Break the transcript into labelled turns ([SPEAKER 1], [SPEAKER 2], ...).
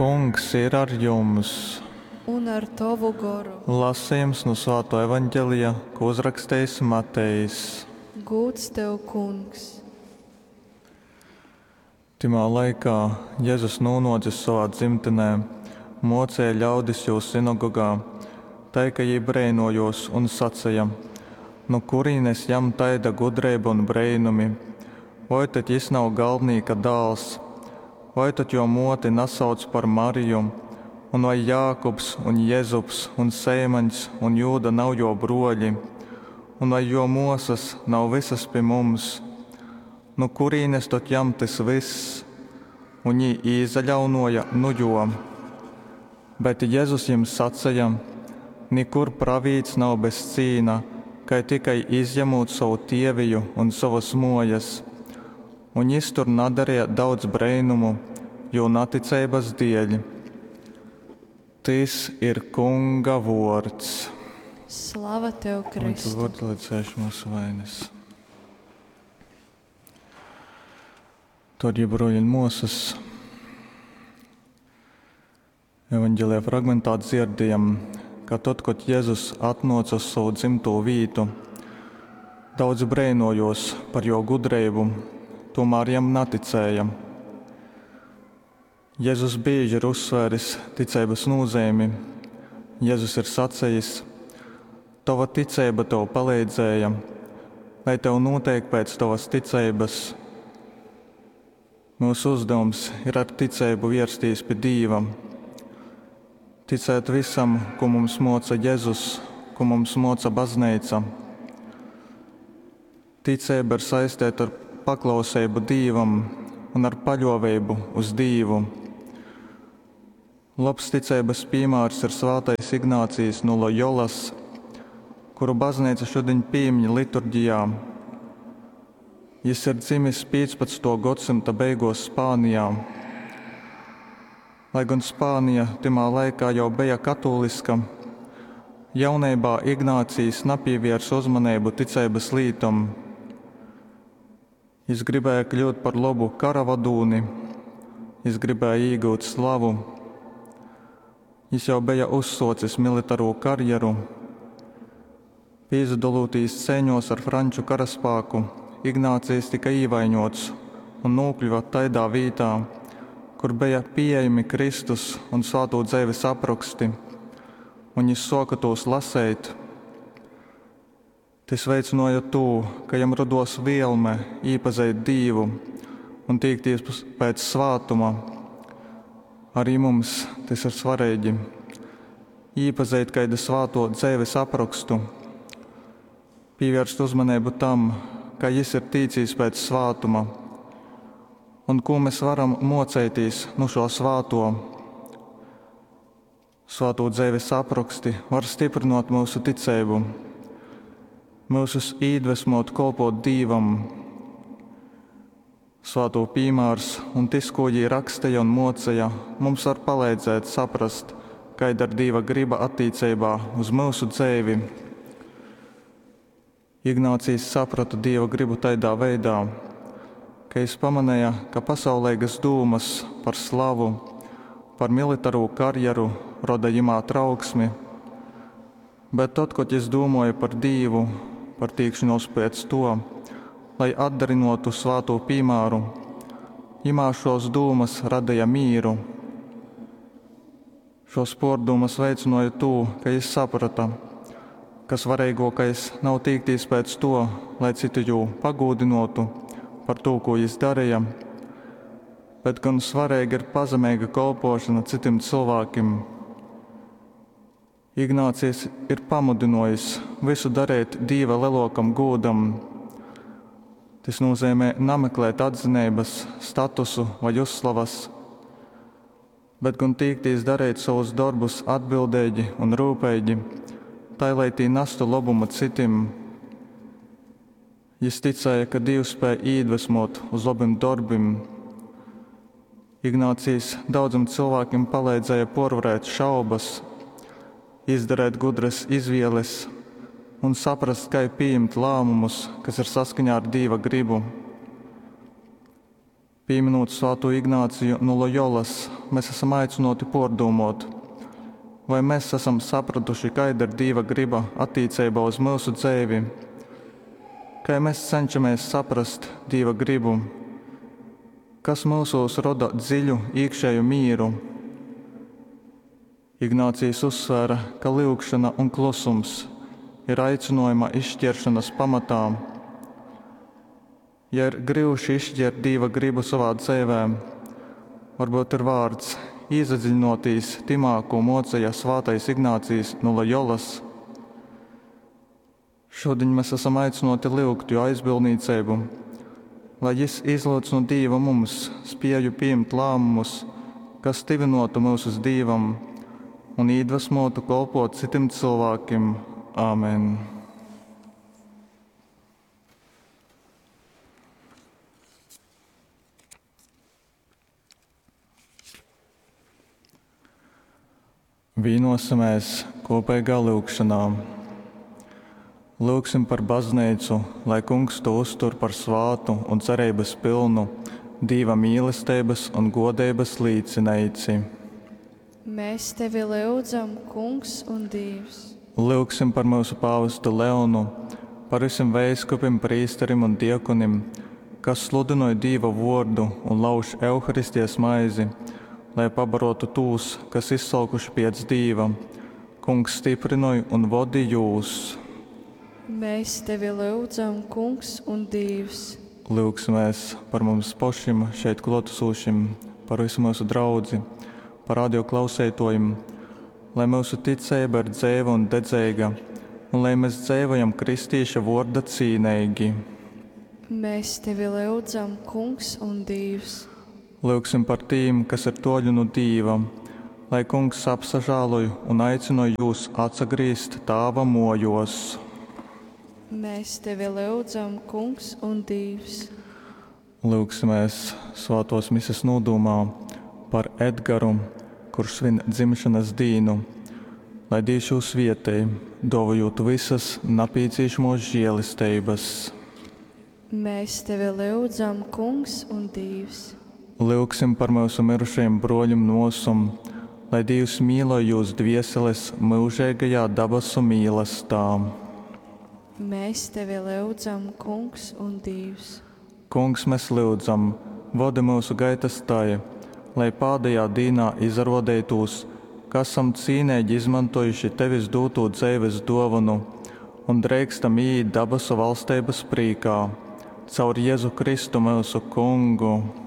[SPEAKER 1] Kungs ir ar jums!
[SPEAKER 2] Un ar tovu goru.
[SPEAKER 1] Lasejums nu Svātō Evangelija, kū uzrakstejis Matejs.
[SPEAKER 2] Gūds tev, Kungs!
[SPEAKER 1] Tymā laikā Jezus nūnōcis sovā dzimtinē, mōceja ļaudis jūs synagogā, tai ka jī breinōjōs un saceja, Nu kurīnes jam taida gudreiba un breinumi? Voi tad jys nav galdnīka dāls? Vai tad jō mōti nasauc par Mariju, un vai Jākubs un Jezups, un Seimaņs, un Jūda nav jō brōļi? Un vai jō mōsas nav vysas pi mums? Nu kurīnes tod jam tys vyss? Un jī īsaļaunōja nu jō. Bet Jezus jim saceja, Nikur pravīts nav bez cīna, kai tikai izjamūt sovu tieviju un sovas mōjas. Un jys tur nadareja daudz breinumu jū naticeibas dēļ. Tys ir Kunga vōrds.
[SPEAKER 2] Slava tev,
[SPEAKER 1] Un tu
[SPEAKER 2] Kristu!
[SPEAKER 1] vari lai dzēš mūsu vainas. Darbie broļi un mosas, Evangelija fragmentā dzirdējam, ka tad, kad Jēzus atnāca uz savu dzimto vītu, daudzi breinojos par jo gudrību, tomēr jam neticēja. Jēzus bieži ir uzsvēris ticeibas nozīmi. Jēzus ir sacījis: Tava ticība tev palīdzēja, lai tev notiek pēc tavas ticības. Mūsu uzdevums ir ar ticību vērsties pie Dieva, ticēt visam, ko mums moca Jēzus, ko mums moca baznīca. Ticība ir saistīta ar paklausību Dievam un ar paļāvību uz Dievu. Labs ticības piemērs ir svētais Ignācijs no Loyolas, kuru baznīca šodien piemin liturģijā. Jis ir dzimis 15. gadsimta beigās Spānijā. Lai gan Spānija timā laikā jau bija katoliska, jaunībā Ignācijs nepievērsa uzmanību ticības lītom. Jis gribēja kļūt par labu karavadūni, jis gribēja iegūt slavu. Jis jau bija uzsocis militāro karjeru. Pīsadalūtīs ceiņos ar franču karaspēku, Ignācijs tika īvaiņots un nokļuva taidā vītā, kur bija pieejami Kristus un svēto dzeives apraksti, un jis soka tos lasīt. Tys veicināja to, ka jam rados vielme iepazīt Dievu un tiekties pēc svātuma. Arī mums tas ir svarīgi. Iepazīt kādu svāto dzeives aprakstu, pievērst uzmanību tam, ka jis ir tīcījis pēc svātuma, un ko mēs varam mocēties no šo svāto. Svāto dzeives apraksti var stiprināt mūsu ticību, mūsus iedvesmot kalpot Dievam. Svāto piemērs un tas, ko viņi rakstīja un mocīja, mums var palīdzēt saprast, kāda ir Dieva griba attiecībā uz mūsu dzīvi. Ignācijs saprata Dieva gribu tādā veidā, ka jis pamanīja, ka pasaulīgas dūmas par slavu, par militāro karjeru roda jimā trauksmi. Bet tad, kad jis domāja par Dievu, par tīkšanos pēc to, lai atdarinotu svāto piemēru, jimā šos dūmas radīja mīru. Šos pārdomas veicināja to, ka jis saprata, ka svarīgākais nav tīkties pēc to, lai citu jū pagūdinotu par to, ko jis darīja, bet gan svarīga ir pazemīga kalpošana citiem cilvēkiem. Ignācijs ir pamudinājis visu darīt Dieva lielākam gūdam. Tas nozīmē nemeklēt atzinības, statusu vai uzslavas, bet gan tīkties darīt savus darbus atbildīgi un rūpīgi, tai lai tī nestu labumu citiem. Jis ticēja, ka Dievs spēj iedvesmot uz labiem darbiem. Ignācijs daudziem cilvēkiem palīdzēja porvarēt šaubas, izdarīt gudras izvēles un saprast, kā pieņemt lēmumus, kas ir saskaņā ar Dieva gribu. Pieminot Svēto Ignāciju no Loyolas, mes asam aicynōti pōrdūmōt, voi mes asam saprotuši kaida ir Dīva gryba attīceibā uz myusu dzeivi? Kai mes cenšamēs saprast Dīva grybu? Kas myusūs roda dziļu īkšēju mīru? Ignācijs uzsvēra, ka lyugšona un klusums ir aicynōjuma izškieršonas pamatā. Ja ir gryuši izškiert Dīva grybu sovā dzeivē, varbyut ir vārts īsadziļinōtīs tymā, kū mōceja svātais Ignācijs nu Lojolas. Šudiņ mes asam aicynōti lyugt jō aizbildnīceibu, lai jys izlyudz nu Dīva mums spēju pījimt lāmumus, kas tyvynōtu myusus Dīvam un īdvasmōtu kolpōt cytim cylvākim. Amen. Vīnosimies kopīgā lūgšanā. Lūgsim par baznīcu, lai Kungs to uztur par svātu un cerības pilnu Dīva mīlestības un godeibas līcineici.
[SPEAKER 2] Mēs tevi lyudzam, Kungs un Dievs.
[SPEAKER 1] Lūgsim par mūsu pāvestu Leonu, par visiem veiskupim, prīsterim un diakonim, kas sludinoj Dīva vuordu un lauž Euharistijas maizi, lai pabarotu tūs, kas izsolkuši piec Dīva. Kungs stiprynoj un vodi jūs.
[SPEAKER 2] Mēs tevi lyudzam, Kungs un Dievs.
[SPEAKER 1] Lūgsimies par mums pašiem šeit klātesošiem, par visu mūsu draudzi, par radio klausītājiem, lai mūsu ticība ir dzeiva un dedzīga, un lai mēs dzīvojam kristīša vorda cīnīgi.
[SPEAKER 2] Mēs tevi lyudzam, Kungs un Dievs.
[SPEAKER 1] Lūgsim par tīm, kas ir toļu nu Dīva, lai Kungs apsažāloj un aicinoj jūs atsagrīzt Tāva mojos.
[SPEAKER 2] Mēs tevi lyudzam, Kungs un Dievs.
[SPEAKER 1] Lūgsimies svētos mises nodūmā par Edgaru, kurš svin dzimšanas dīnu, lai Dievs jū svietej, dovojot visas napīciešamos žēlistības.
[SPEAKER 2] Mēs tevi lyudzam, Kungs un Dievs.
[SPEAKER 1] Lūgsim par mūsu mirušajiem broļiem nosom, lai Dievs mīloj jūs dvieseles mūžīgajā dabasu mīlestā.
[SPEAKER 2] Mēs tevi lyudzam, Kungs un Dievs.
[SPEAKER 1] Kungs, mēs lyudzam, vodi mūsu gaitas tai, lai pādējā dīnā izarodētūs, ka esam cīnīgi izmantojuši tevis dūtū dzeives dovanu un dreikstam iīt dabasu valsteibas prīkā. Caur Jezu Kristu mūsu Kungu.